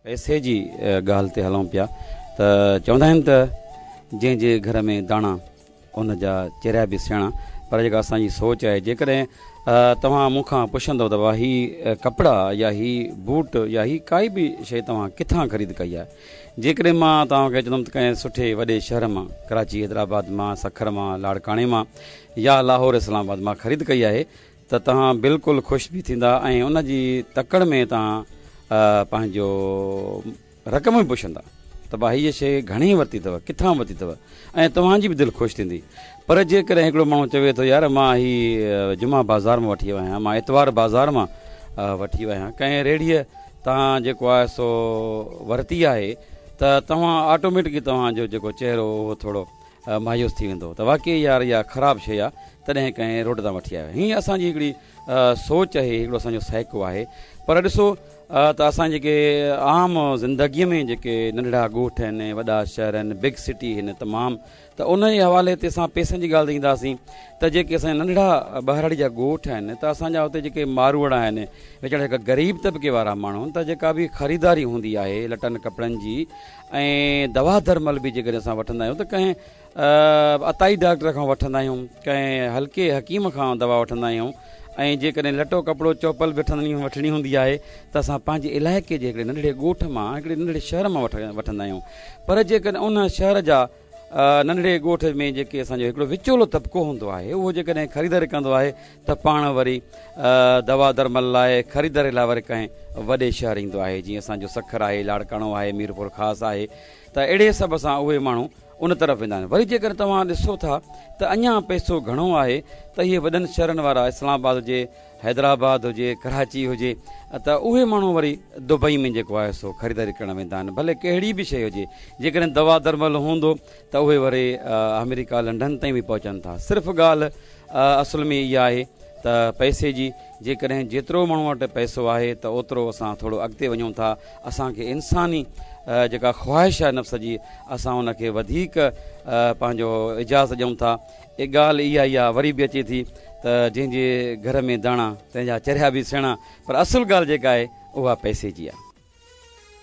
پئسي جي ڳالهه تي هلون پيا ته چوندا آهن ته جنهن جي گهر ۾ داڻا ان جا چريا به سياڻا، پر جيڪا اسان جي سوچ آهي، جيڪڏهن توهان مون کان پڇندو ته بابا هي ڪپڙا يا هي بوٽ يا هي ڪائي به شيء توهان ڪٿان خريد ڪئي آهي، جيڪڏهن مان توهان کي چوندم ته ڪنهن سٺي وڏي شهر مان، ڪراچي، حيدرآباد مان، سکر مان، لاڙڪاڻي مان يا لاهور اسلام آباد مان خريد ڪئي آهي ته توهان بلڪل خوش به ٿيندا ۽ ان جي تڪڙ ۾ توهان پنهنجو رقم به پڇندا ته ڀاء هيء شيء گهڻي ورتي اٿو، ڪٿان ورتي اٿو ۽ توهان جي به دل خوش ٿيندي. پر جيڪڏهن هڪڙو ماڻهو چوي ٿو يار مان هي جمعه بازار مان وٺي آيو آهيان، مان اتوار بازار مان وٺي آيو آهيان، ڪنهن ريڙهيء تان جيڪو آهي سو ورتي آهي ته توهان آٽوميٽڪلي توهان جو جيڪو چهرو اهو ٿورو مايوس ٿي ويندو ته واقعي يار اها خراب شيء آهي تڏهن ڪنهن روڊ تان وٺي آيو آهي. هيء اسان جي هڪڙي سوچ آهي، هڪڙو اسان جو سائيڪو آهي. پر ڏسو ته اسان جيڪي عام زندگيء ۾ جيڪي ننڍڙا ڳوٺ آهن، وڏا شهر آهن، بگ سٽي آهن تمام، ته ان جي حوالي تي اسان پئسن جي ڳالهه تي اينداسين ته جيڪي اسان جا ننڍڙا ٻهراڙي جا ڳوٺ آهن ته اسان جا اتي جيڪي ماروئڙا آهن، ويچارا جيڪا غريب طبقي وارا ماڻهو آهن ته جيڪا به خريداري هوندي آهي لٽن ڪپڙن جي ۽ دوا درمل به جيڪڏهن اسان وٺندا آهيون ته ڪنهن عطائي ڊاڪٽر کان وٺندا آهيون، ڪنهن هلڪي حڪيم کان دوا وٺندا آهيون ۽ جيڪڏهن لٽو ڪپڙو چوپل به وٺڻي هوندي آهي ته اسان پنهنجي علائقي جي هڪڙي ننڍڙي ڳوٺ مان هڪڙي ننڍڙي شهر مان وٺندا آهيون پر جيڪڏهن ان شهر جا ننڍڙي ڳوٺ ۾ جيڪي اسان جو هڪڙو وچولو طبقو هوندو آهي اهو جيڪڏهن خريداري ڪندو آهي ته پاڻ وري دوا درمل لاء خريداري لاء وري ڪنهن وڏي شهر ايندو آهي جيئن اسان جو سکر آهي، لاڙڪاڻو آهي، ميرپورخاص آهي ته اهڙي حساب سان اهي ماڻهو ان طرف ويندا آهن. وري جيڪڏهن توهان ڏسو ٿا ته اڃا پئسو گهڻو آهي ته اهي وڏن شهرن وارا اسلام آباد هجي، حيدرآباد هجي، ڪراچي هجي ته اهي ماڻهو وري دبئي ۾ جيڪو آهي سو خريداري ڪرڻ ويندا آهن ڀلي ڪهڙي به شيء هجي جيڪڏهن دوا درمل هوندو ته اهي وري آمريڪا لنڊن تائين به پهچن ٿا. صرف ڳالهه اصل ۾ اها آهي ته پئسي جي، جيڪڏهن جيترو ماڻهو وٽ پئسو آهي ته اوترو اسان ٿورو اڳتي وڃون ٿا، اسان کي انساني جيڪا خواهش آهي نفس جي اسان ان کي وڌيڪ پنهنجو اجازت ڏيون ٿا. ڳالهه اها ئي آهي وري به اچي ٿي ته جنهن جي گهر ۾ داڻا تنهن جا چريا به سيڻا پر اصل ڳالهه جيڪا آهي اها پئسي جي آهي.